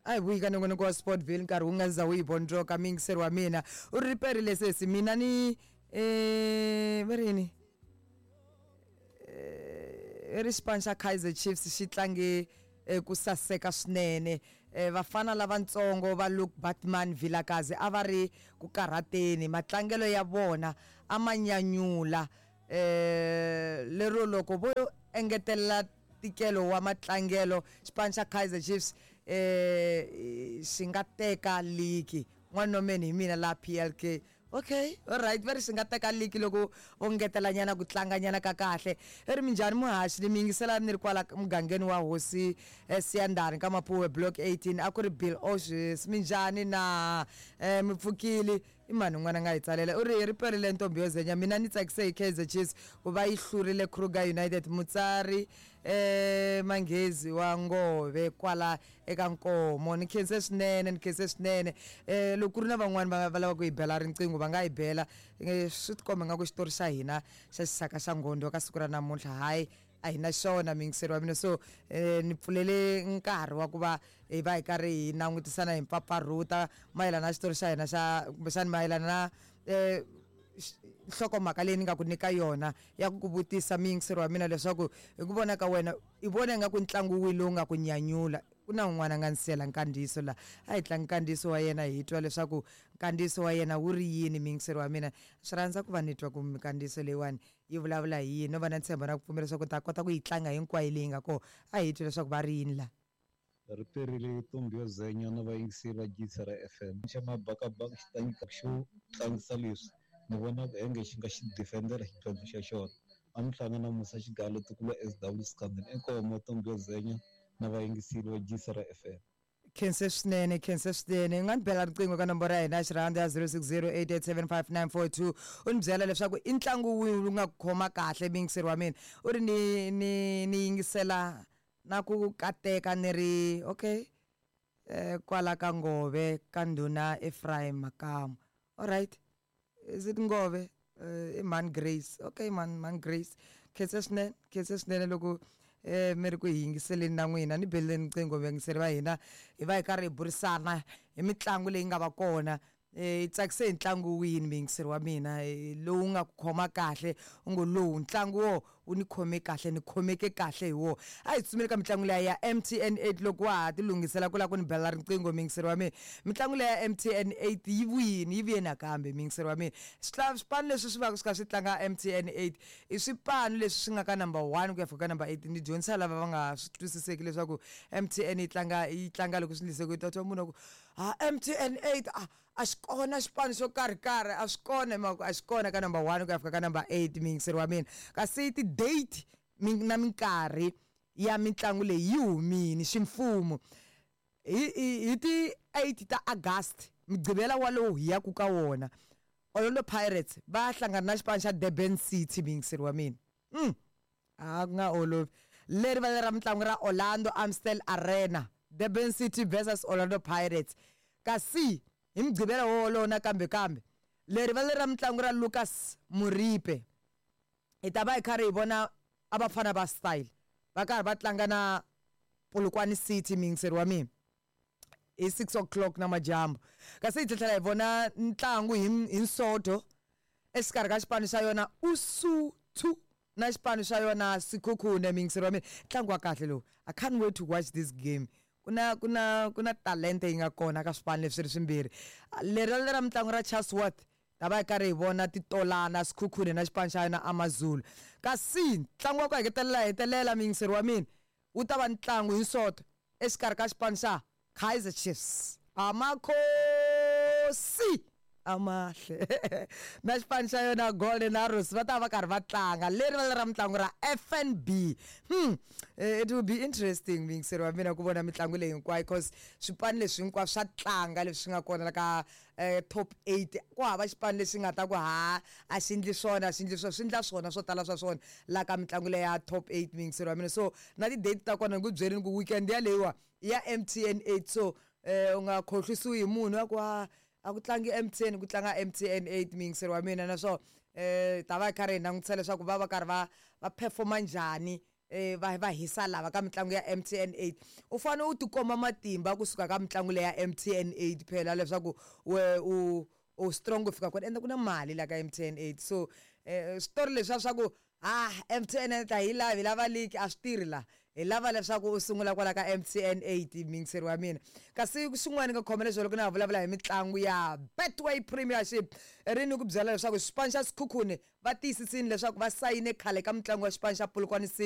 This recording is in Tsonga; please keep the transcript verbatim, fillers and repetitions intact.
A hi vuyi ka nongonoko wa Sportville nkarhi wu nga za wu yi vondzoka. Muyingiseri wa mina u ri riperile sesi, mina ni um va ri yini, i ri xipano xa Kaizer Chiefs xi tlange ku saseka swinene. Vafana lavatsongo va Luke Batman Vilakazi a va ri ku karhateni, matlangelo ya vona a ma nyanyula, um lero loko vo engetelela ntikelo wa matlangelo xipano xa Kaizer Chiefs um xi nga teka ligi. N'wanomeni hi mina la P L K. Okay, alright, va ri xi nga teka ligi loko vo ngetelanyana ku tlanganyana ka kahle. I ri minjhani muhaxi, ni mi yingisela ni ri kwala mugangeni wa hosi Siyandhani ka Mapuwe block eighteen. A ku ri Bill Oshes. Minjhani na mi pfukile? I mani un'wana a nga hi tsalela, u ri hi ri perile ntombi yo zenya, mina ni tsakise hi Kaizer Chiefs ku va yi hlurile Kruger United. Mutsari um Manghezi wa Ngove kwala eka Nkomo, ni khense swinene, ni khense swinene. um Loko ku ri na van'wani va va lava ku hi bela riqingho va nga hi bela. Swi tikomba nga ku xitori xa hina xa xisaka xa Ngondo ka siku ra namuntlha hayi a hi na xona, muyingiseri wa mina. So um ni pfulele nkarhi wa ku va hi va hi karhi hi langutisana hi mpfapfarhuta mayelana na xitori xa hina xa kumbexani mayelana na um nhlokomhaka leyi ni nga ku nyika yona ya ku ku vutisa muyingiseri wa mina leswaku hi ku vona ka wena i vona ingaku ntlangu wihi lowu nga ku nyanyula. Ku na un'wana a nga ni siyela nkandziyiso laha, a hi tlanga nkandziyiso wa yena hi twa leswaku nkandziyiso wa yena wu ri yini. Muyingiseri wa mina, swi rhandza ku va ni twa ku minkandziyiso leyiwani yi vulavula hi yini, no va na ntshembo na ku pfumela leswaku ni ta kota ku yi tlanga hinkwayo leyi nga kona. A hi twi leswaku va ri yini laha. Ri perile ntombi yo zenya na vayingiseri va Giyisa ra F M. Xa mabakabaka xi ta nyika xo tlangisa leswi ni vona enge xi nga xi defendera xidlodlo xa xona. A mi hlangana Musa Xigalo tikulu S W Scandal Inkomo ntombi yo zenya na vayingiseri va Giyisa ra F M. Khense swinene, khense swinene. U nga ni bela riqingho ka nomboro ya hina ya xirhando ya zero six zero eight eight seven five nine four two, u ni byela leswaku i ntlangu wihi wu nga ku khoma kahle muyingiseri wa mina. U ri ni ni ni yingisela na ku kateka ni ri okay eh kwala ka Ngove ka ndhuna Ephraim Makamu. Alright, is it Ngove? I Man Grace. Okay, man Man Grace, khense swinene, khense swinene loko eh mi ri ku hi yingiseleni na n'wina. Ni beleni riqingho vayingiseri va hina, hi va hi karhi hi burisana hi mitlangu leyi nga va kona. Eh tsakise hi ntlangu wini muyingiseri wa mina lowu nga ku khoma kahle, u ngo lowu ntlangu wo wu ni khome kahle, ni khomeke kahle hi wona. A hi tsutsumeli ka mitlangu leya ya M T N eight loko wa ha ti lunghisela ku lava ku ni bela riqingho muyingiseri wa mina. Mitlangu leya ya M T N eight yi vuyini, yi vuye nakambe muyingiseri wa mina. Swipano leswi swi va swi kha swi tlanga M T N eight i swipano leswi swi nga ka number one ku ya fika ka number eight. Ni dyondzisa lava va nga swi twisiseki leswaku M T N yi tlanga yi tlanga loko swi ndlise ku ta twa munhu a ku ha M T N eight a a xi kona xipano xo karhi karhi, a swi kona hi mhaka ku a xi kona ka number one ku ya fika ka number eight muyingiseri wa mina. Kasi ti-date na minkarhi ya mitlangu leyi yi humile ximfumo hi hi ti eight ta August, mugqivela walowu hi yaku ka wona, Orlando Pirates va hlangana na xipano xa Durban City muyingiseri wa mina. Mm. A ku nga olovi. Leri va ra mitlangu ra Orlando Amstel Arena, Durban City versus Orlando Pirates. Kasi hi mugqivela wolowo nakambe kambe leri va leri ra mitlangu ra Lucas Moripe, hi ta va hi karhi hi vona a vafana va style va karhi va tlanga na Polokwane City muyingiseri wa mina hi six o'clock namadyambu. Kasi hi tlhela hi vona ntlangu hi hi Nsoto exikarhi ka xipano xa yona Usuthu na xipano xa yona Sekhukhune muyingiseri wa mina. Ntlangu wa kahle lowu, I can't wait to watch this game. Ku na ku na ku na talente yi nga kona ka swipano leswi ri swimbirhi. Leri ra mitlangu ra Chatsworth ta va hi karhi hi vona titolana Sekhukhune na xipano xa yona AmaZulu. Kasi ntlangu wa ku hetelela hetelela muyingiseri wa mina wu ta va ntlangu hi Nsoto exikarhi ka xipano xa Kaizer Chiefs Amakhosi amahle na xipano xa yona Golden Arrows va ta va karhi va tlanga leri va ra mitlangu ra F N B. Hmm, it will be interesting muyingiseri wa mina ku vona mitlangu leyi hinkwayo, because swipano leswi hinkwaswo swa tlanga leswi nga kona la ka eh, top eight. Ku hava xipano lexi nga ta ku ha a xi endli swona, a xi endli swona, swi endla swona swo tala swa swona la ka mitlangu leyi ya top eight muyingiseri wa mina. So na ti-date ta kona ni ku byerini ku weekend yaleyiwa ya M T N eight, so eh u nga khohlwisiwi hi munhu wa ku a a ku tlangi M T N, ku tlanga M T N eight muyingiseri wa mina. Naswona eh ta va hi karhi hi langutisa leswaku va va karhi va va performa njhani eh, va va hisa lava ka mitlangu ya M T N eight. U fanele u tikomba matimba kusuka ka mitlangu leya M T N eight phela, leswaku we u u strong ku fika kwini, ende ku na mali la ka M T N eight. So eh, switori leswiya swa ku ah M T N ta hi lavi, hi lava league, a swi tirhi la. Hi lava leswaku u sungula kwala ka M T N eight, miyingiseri wa mina. Kasi xin'wana nga khoma leswi loko na ha vulavula hi mitlangu ya Betway Premiership, ri ni ku byela leswaku xipano xa Sekhukhune va tiyisisini leswaku va sayine khale ka mitlangu ya xipano xa Polokwane City.